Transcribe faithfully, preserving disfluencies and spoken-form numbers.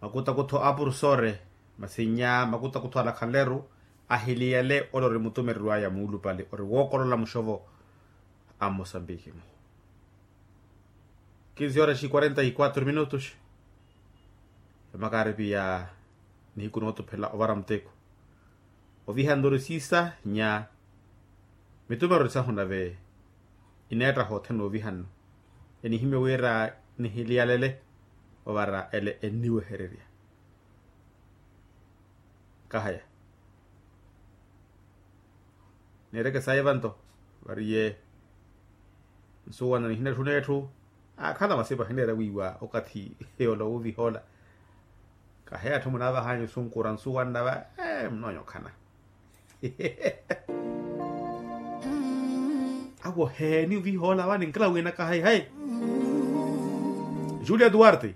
Makutakutho a purusore, masi nnya makutakutho alakhanleru, ahiliyale ole ori mutumereriwaya muulupale ori wookolola muxovo a mosambiki-mu. Kinsi horas e quarenta e quatro minutos. Emakaripi ya nihiku nootuphela ovara muteko. Ovihanle ori siisa nnya mitumereri sahu nave ineettaha othene ovihanle. Enihimye wira nihiliyalele ovara ele enniwehererya. Kahaya. Neereke sayi vanto variye nsuwanna nihinetthuna etthu. Akhala masipa hineera wiiwa okathi yoola wuviha ola. Kaheya atthu munaavahanya osunkura nsuwanna va. Munoonya okhana. Awo heeni oviha ola vani nkila wina kahayi hayi. Julia duarte.